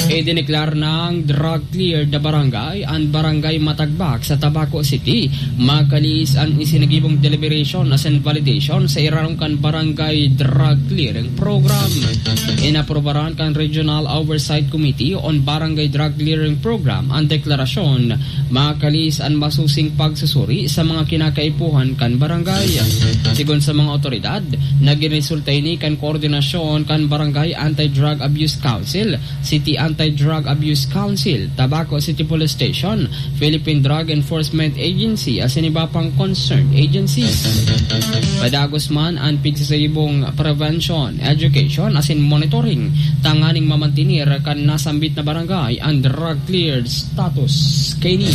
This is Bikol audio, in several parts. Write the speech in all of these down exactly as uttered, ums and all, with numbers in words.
Idineklar nang drug cleared na barangay an Barangay Matagbak sa Tabaco City. Makalis an isinagibong deliberation asin validation sa irarom kan Barangay Drug Clearing Program. Inaprobaran kan Regional Oversight Committee on Barangay Drug Clearing Program an deklarasyon. Makalis an masusing pagsusuri sa mga kinakaipuhan kan barangay. Sigon sa mga otoridad, naging resulta ini kan koordinasyon kan Barangay Anti-Drug Abuse Council, City Anti-Drug Abuse Council, Tabaco City Police Station, Philippine Drug Enforcement Agency asin iba pang concerned agencies. Padagos man an pigsasagibong prevention, education asin monitoring tanganing mamantener kan nasambit na barangay an drug cleared status kaini.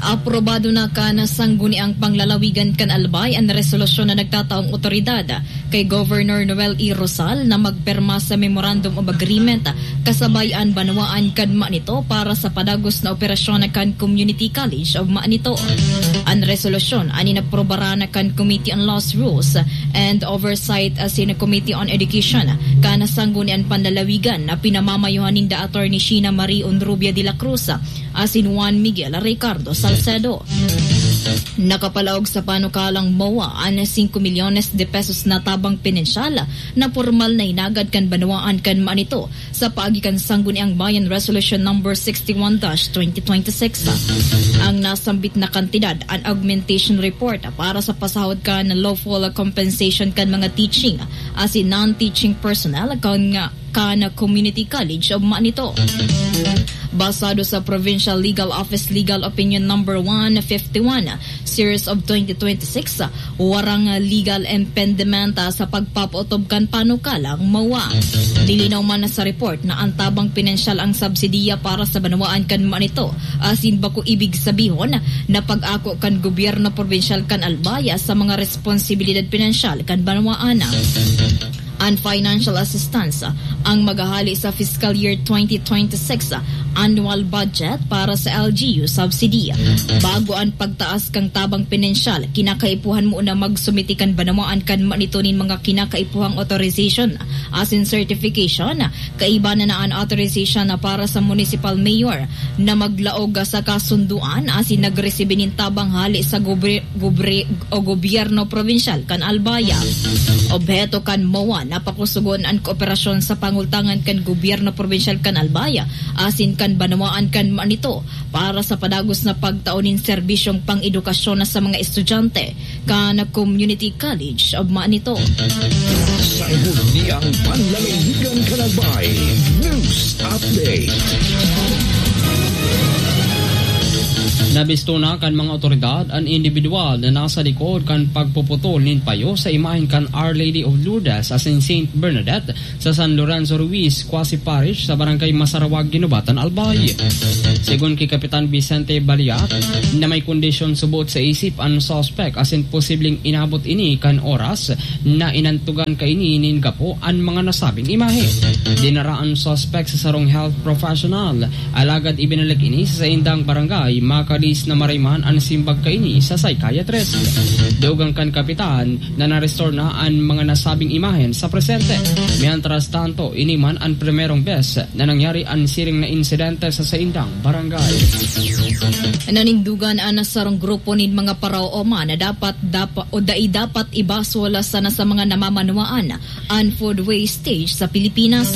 Aprobado na kan Sangguniang Panglalawigan kan Albay an resolusyon na nagtataong otoridad kay Governor Noel E. Rosal na magpirma sa Memorandum of Agreement kasabay an banwaan kan Manito para sa padagos na operasyon kan Community College of Manito. An resolusyon an inaprobaran kan Committee on Laws, Rules, and Oversight asin Committee on Education kan Sangguniang Panlalawigan na pinamamayuhan ninda Attorney Sheena Marie Honrubia de la Cruz asin Juan Miguel Ricardo Salcedo. Nakapalaog sa panukalang MOA an singko milyones de pesos na tabang pinansyal na pormal na hinagad kan banwaan kan Manito sa paagi kan Sangguniang Bayan Resolution Number sixty-one dash twenty twenty-six. Ang nasambit na kantidad an augmentation report para sa pasahod kan lawful compensation kan mga teaching asin non-teaching personnel kan kan Community College of Manito. Basado sa Provincial Legal Office Legal Opinion Number one fifty-one, Series of twenty twenty-six, warang legal impediment, ah, sa pagpapaotob kan panukalang MOA. Nilinaw man sa report na ang tabang pinansyal ang subsidiya para sa banwaan kan Manito, asin bako ibig sabihon na pag-ako kan gobyerno probinsyal kan Albay sa mga responsibilidad pinansyal kan banwaan. An financial assistance ang maghahali sa fiscal year twenty twenty-six annual budget para sa L G U subsidy. Bago an pagtaas kan tabang pinansyal, kinakaipuhan mo na magsumiti kan banwaan kan Manito nin mga kinakaipuhang authorization asin certification. Kaiba na na an authorization na para sa municipal mayor na maglaog sa kasunduan asin nagresibi nin tabang hali sa gobre-, gobre-, o gobyerno probinsyal kan Albay. Obheto kan MOA na pakusugon an kooperasyon sa pangultangan kan gobyerno probinsyal kan Albay asin kan banwaan kan Manito para sa padagos na pagtao nin serbisyong pang-edukasyon sa mga estudyante kan Community College of Manito. Sa Sangguniang Panlalawigan kan Albay, News Update. Nabisto na kan mga otoridad an indibidwal na nasa likod kan pagpuputol nin payo sa imahen kan Our Lady of Lourdes asin Saint Bernadette sa San Lorenzo Ruiz Quasi Parish sa Barangay Masarawag, Guinobatan, Albay. Segun ki Kapitan Vicente Baliat, na may kondisyon subot sa isip an suspek asin posibleng inabot ini kan oras na inantugan kaini nin gapo an mga nasabing imahe. Dinara an suspek sa sarong health professional, alagad ibinalik ini sa saindang barangay, makalis na maray man an simbag kaini sa psychiatrist. Dugang kan kapitan na na-restore na an mga nasabing imahen sa presente. Mientras tanto, ini man an primerong bes na nangyari an siring na insidente sa saindang barangay. Nanindugan an sarong grupo nin mga paraoma na dapat, dapa-, o dai dapat ibasol sana sa mga namamanwaan an food wastage sa Pilipinas.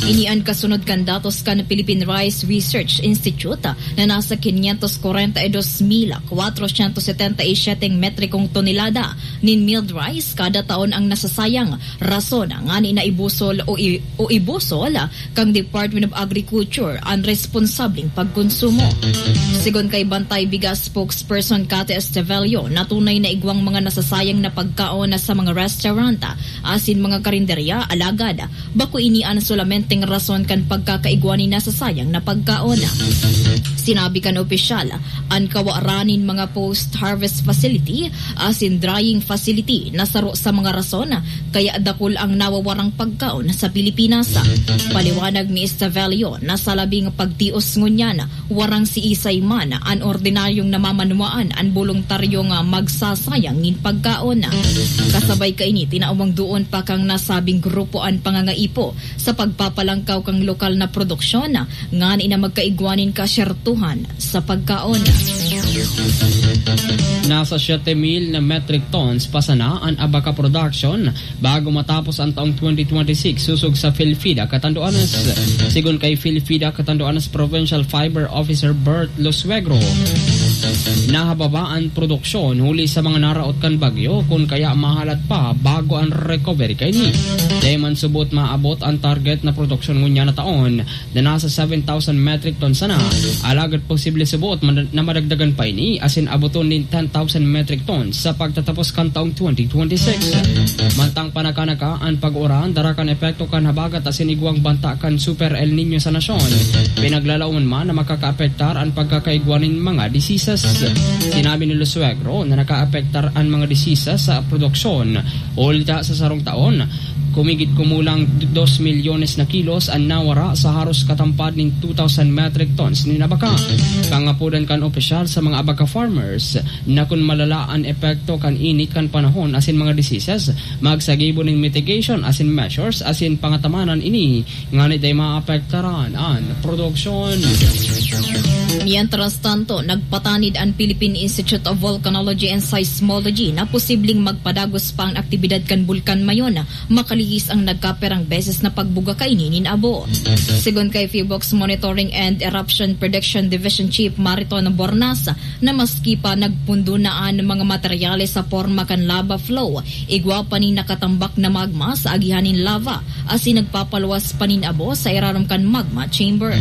Ini an kasunod kan datos kan Philippine Rice Research Institute na nasa quinientos kwarenta y dos mil kwatrosyentos setenta y siyete metrikong tonelada nin milled rice kada taon ang nasasayang, rason ngani na ibusol o i-, o ibusol kan Department of Agriculture an responsableng pagkonsumo. Segun kay Bantay Bigas spokesperson Cathy Estevelio na tunay na igwang mga nasasayang na pagkaon na sa mga restaurant asin mga karinderya, alagad bako ini an solamenteng rason kan pagkakaigwa nin nasasayang na pagkaon. Sinabi kan opisyal An kawaran nin mga post-harvest facility asin drying facility na saro sa mga rason kaya dakul ang nawawarang pagkaon sa Pilipinas. Paliwanag ni Estavelio na sa labing pagtios ngunyan, warang siisay man an ordinaryong namamanwaan an boluntaryong, ah, magsasayang nin pagkaon. Kasabay kaini, tinawan duon pa kan nasabing grupo an pangangaipo sa pagpapalangkaw kan lokal na produksyon ngani na magkaigwa nin kasyertuhan sa pagkaon. Nasa siyete mil na metric tons pa sana an abaca production bago matapos an taong twenty twenty-six, sosog sa PhilFida Catanduanes. Sigon kay PhilFida Catanduanes Provincial Fiber Officer Bert Losuegro, nahababa an produksyon huli sa mga naraot kan bagyo, kun kaya mahalat pa bago an recovery kaini. Dai man subot maabot an target na produksyon ngunyan na taon, na nasa seven thousand metric tons sana. Alagad posible subot man-, na madagdagan pa ini asin aboton nin ten thousand metric tons sa pagtatapos kan taong twenty twenty-six. Mantang panakanaka an pag-uran, dara kan epekto kan habagat asin igwang banta kan Super El Niño sa nasyon. Pinaglalaoman man na makakaapektar an pagkakaigwa nin mga diseases. Sinabi ni Losuegro na nakaapektar an mga diseases sa produksyon. Ulta sa sarong taon, kumigit kumulang dos milyones na kilos an nawara sa haros katampad nin two thousand metric tons nin abaca. Pangapodan kan opisyal sa mga abaca farmers na kun malala an epekto kan init kan panahon asin mga diseases, magsagibo nin mitigation asin measures asin pangatamanan ini ngani dai maapektaran an produksyon. Mientras tanto, nagpatanid an Philippine Institute of Volcanology and Seismology na posibleng magpadagos pa an aktibidad kan Bulkan Mayon, makalihis ang nagkaperang beses na pagbuga kaini nin abo. Sigon kay PHIVOLCS Monitoring and Eruption Prediction Division Chief Mariton Bornas, na maski pa nagpundo na an mga materyales sa porma kan lava flow, igwa pa nin nakatambak na magma sa agihan nin lava asin nagpapaluwas pa nin abo sa irarom kan magma chamber.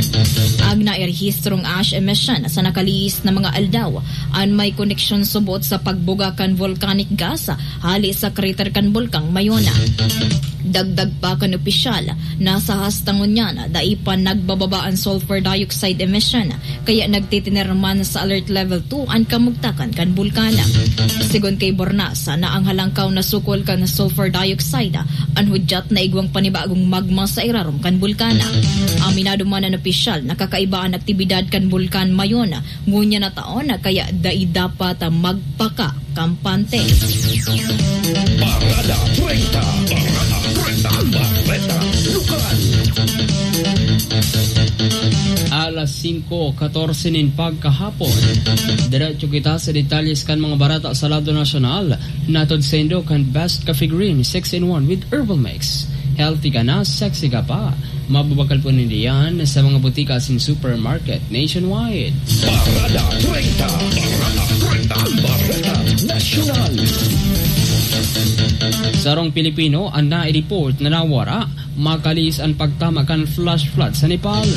An nairehistrong ash emission sa nakalihis na mga aldaw an may koneksyon subot sa pagbuga kan volcanic gas hale sa crater kan Bulkang Mayon. Dagdag pa kan opisyal, nasa hasta ngunyan dai pa nagbababa an sulfur dioxide emission, kaya nagtitiner man sa Alert Level two an kamugtakan kan bulkan. Sigon kay Bornas, na ang halangkaw na sukol kan sulfur dioxide an hudyat na igwang panibagong magma sa irarom kan bulkan. Aminado man an opisyal na kakaiba an aktibidad kan Bulkan Mayon ngunyan na taon, kaya dai dapat magpaka kampante. Parada treinta. Parada treinta. Ang bareta lokal. Alas singko katorse nin pagkahapon. Diretso kita sa detalyes kan mga bareta sa lado nasyonal. Natod saindo kan Best Coffee Green six in one with Herbal Mix. Healthy ka na, sexy ka pa. Mababakal po ninda yan sa mga butika asin supermarket nationwide. Parada treinta. Parada treinta. Ang bareta nasyonal. Sarong Pilipino an nai-report na nawara makalihis an pagtama kan flash flood sa Nepal.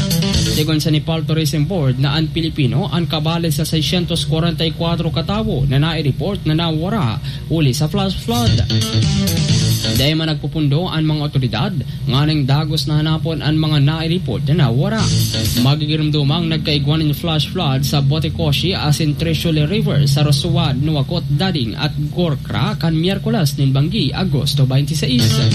Sigon sa Nepal Tourism Board na an Pilipino an kabale sa seiscientos kwarenta y kuwatro katawo na nai-report na nawara huli sa flash flood. Dai man nagpupundo an mga otoridad nganing dagos na hanapon an mga nai-report na nawara. Magigiromdomang nagkaigwa nin flash flood sa Botekoshi asin Trishuli River sa Rasuwa, Nuwakot, Dading at Gorkha kan Miyerkules nin banggi, Agosto twenty-six.